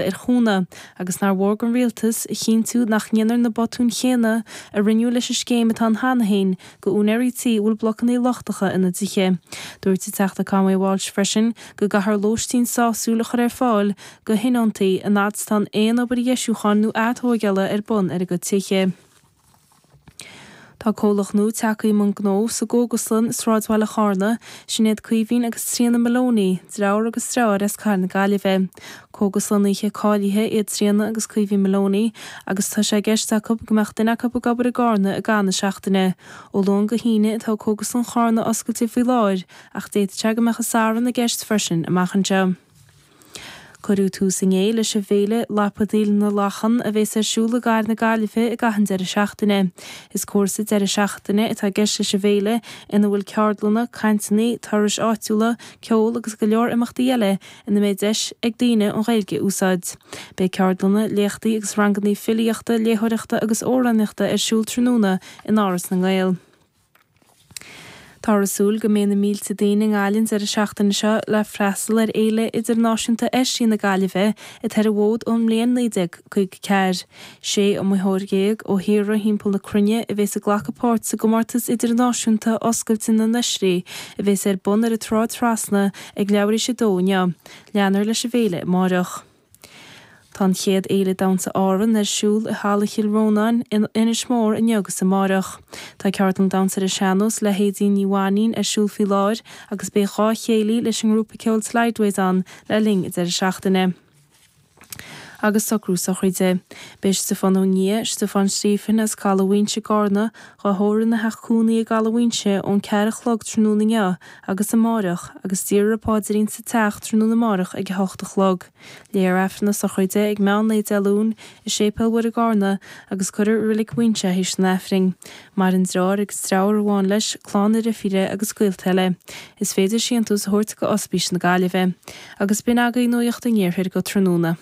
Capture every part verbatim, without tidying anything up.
ar chúnamh agus nár mhór don rialtas a chinntiú nach ndéanfar na botúin chéanna a rinneadh leis an scéim atá ann cheana féin do úinéirí tí a bhfuil blocanna lochtacha ina dtithe. Dúirt an Teachta Conway Walsh freisin go gcaithfear lóistín sásúil a chur ar fáil do thionóntaí an fhad is atá aon obair dheisiúcháin nó atógála ar bun ar a gcuid tithe. Tá comhlacht nua tagtha i mbun gnó sa gcógaslann i sráidbhaile Charna, sin iad Caoimhín agus Tríona Maloney, deartháir agus deirfiúr as Cathair na Gaillimhe. Cógaslannaithe cáilithe iad Tríona agus Caoimhín Maloney agus tá sé i gceist acu go mbeadh duine acu ag obair i gCarna i gcaitheamh na seachtaine. Ó Luan go hAoine atá Cógaslann Charna oscailte faoi láthair ach d'fhéadfadh sé go mbeadh an Satharn i gceist freisin amach anseo. Cuireadh tús inné leis an bhféile Lapadaíl na Lachan a bheas ar siúl i gCathair na Gaillimhe i gcaitheamh an deireadh seachtaine. Is cúrsa deireadh seachtaine atá i gceist leis an bhféile ina bhfuil ceardlanna, cainteanna, turais áitiúla, ceol agus go leor imeachtaí eile ina mbeidh deis ag daoine an Ghaeilge a úsáid. Beidh ceardlanna, léachtaí agus ranganna filíochta, léitheoireachta agus amhránaíochta ar siúl tráthnóna in Áras na nGael. Táthar ag súil go mbeidh na mílte daoine i nGaillimh an deireadh seachtaine seo le freastal ar Fhéile Idirnáisiúnta Oisrí na Gaillimhe atá ar an bhfód ón mbliain naoi déag caoga ceathair. Sé iomaitheoir déag ó thíortha thimpeall na cruinne a bheas ag glacadh páirt sa gcomórtas idirnáisiúnta oscailte na n-oisrí a bheas ar bun ar an tSráid Trasna ag leathuair tar éis a dó inniu. Leanfar leis an bhféile amárach. Tá an chéad fhéile damhsa Árann ar siúl i Halla Chill Rónáin in Inis Mór inniu agus amárach. Tá ceardlann damhsa ar an sean-nós le hAedín Ní Mhainín ar siúl faoi láthair agus beidh dhá chéilí leis an ngrúpa ceoil Slideways ann le linn an deireadh seachtaine. Agus socrú sochraide. Beidh Stiofán Ó Nia, Stiofán Stephen as Caladh Mhaínse i gCarna, á thórramh ina theach cónaí i gCaladh Mhaínse ón ceathair a chlog tráthnóna inniu agus amárach agus déarfar an paidrín sa teach tráthnóna amárach ag a hocht a chlog. Léifear Aifreann na sochraide ag meán lae Dé Luain i Séipéal Mhuire i gCarna agus cuirfear i Reilig Mhaínse é théis an Aifrinn. Maireann deartháir agus deirfiúr amháin leis, clann a dheirfíre agus gaolta eile. Is féidir síntiús a thabhairt go Ospís na Gaillimhe. Agus b'in agaibh nuacht an iarthair go tráthnóna.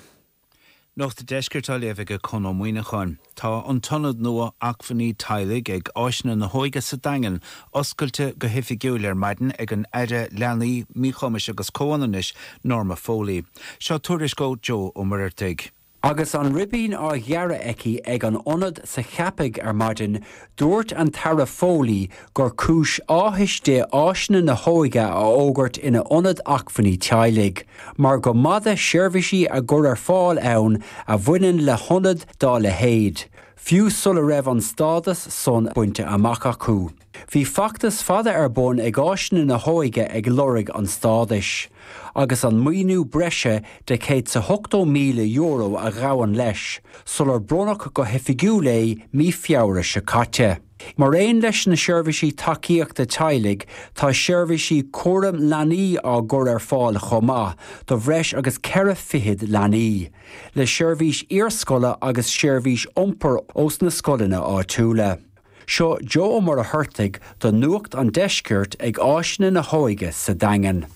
Nuacht an Deiscirt á léamh ag Conn Ó Muíneacháin. Tá an t-ionad nua acmhainní teaghlaigh ag Áiseanna na hÓige sa Daingean oscailte go hoifigiúil ar maidin ag an Aire Leanaí, Míchumais agus Comhionannais, Norma Foley. Seo tuairisc ó Joe Ó Muircheartaigh. Agus an ribín á ghearradh aici ag an ionad sa Cheapaigh ar maidin, dúirt an tAire Foley gur cúis áthais di Áiseanna na hÓige a fhógairt ina ionad acmhainní teaghlaigh, mar go mb'fhada seirbhísí á gcur ar fáil ann a bhaineann le hionad dá leithéid, fiú sula raibh an stádas san bainte amach acu. Bhí feachtas fada ar bun ag Áiseanna na hÓige ag lorg an stádais, agus an maoiniú breise de céad is ochtó míle euro a ghabhann leis, sular bronnadh go hoifigiúil é mí Feabhra seo caite. Mar aon leis na seirbhísí tacaíochta teaghlaigh, tá seirbhísí cúram leanaí á gcur ar fáil chomh maith do bhreis agus ceithre fichid leanaí, le seirbhís iarscoile agus seirbhís iompair ós na scoileanna áitiúla. Seo Joe Ó Muircheartaigh do Nuacht an Deiscirt ag Áiseanna na hÓige sa Daingean.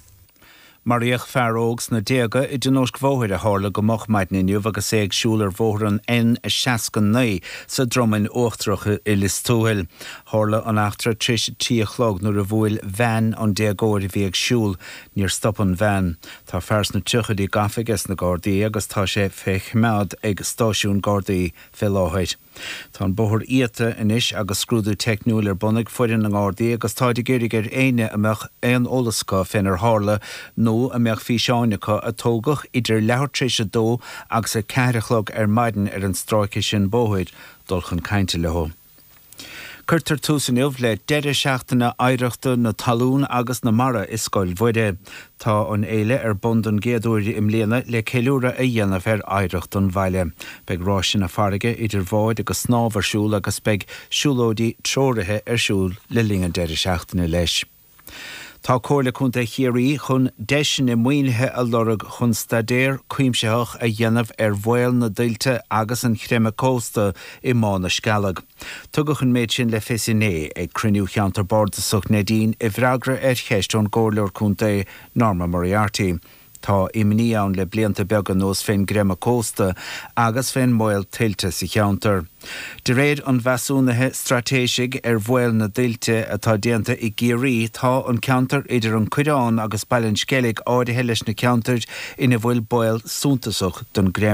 Maraíodh fear óg sna déaga i dtionóisc bhóthair a tharla go moch maidin inniu agus é ag siúl ar bhóthar an N seasca naoi sa Dromainn Uachtarach i Lios Tuathail. Tharla an eachtra tar éis a trí a chlog nuair a bhuail veain an déagóir a bhí ag siúl. Níor stop an veain. Tá fear sna tríochaidí gafa ag na Gardaí agus tá sé fé choimeád ag stáisiún Gardaí fé láthair. Tá an bóthar iata anois agus scrúdú teicniúil ar bun ag foireann na nGardaí agus táid ag iarraidh ar éinne a mbeadh aon eolas acu fénar tharla nó a mbeadh físeáin acu a tógadh idir leathuair tar éis a dó agus a ceathair a chlog ar maidin ar an stráice sin bóthair dul chun cainte leo. Cuirtear tús inniu le deireadh seachtaine oidhreachta na talún agus na mara i Scoil Mhuire. Tá an fhéile ar bun don gcéad uair i mbliana le ceiliúradh a dhéanamh ar oidhreacht an bhaile. Beidh ráiseanna farraige idir bháid agus snámh ar siúl agus beidh siúlóidí treoraithe ar siúl le linn an deireadh seachtaine leis. Tá Comhairle Contae Chiarraí chun deiseanna maoinithe a lorg chun staidéar cuimsitheach a dhéanamh ar bhaol na dtuilte agus an chreimeadh cósta i mBá na Scealg. Tugadh an méid sin le fios inné ag cruinniú Cheantar Bardasach Neidín i bhfreagra ar cheist ón gComhairleoir Contae Norma Moriarty. Tá imní ann le blianta beaga anuas fén gcreimeadh cósta agus fén mbaol tuilte sa cheantar. De réir an mheasúnaithe straitéisigh ar bhaol na dtuilte atá déanta i gCiarraí, tá an ceantar idir an Coireán agus Baile an Sceilg áirithe leis na ceantair ina bhfuil baol suntasach don gcreimeadh.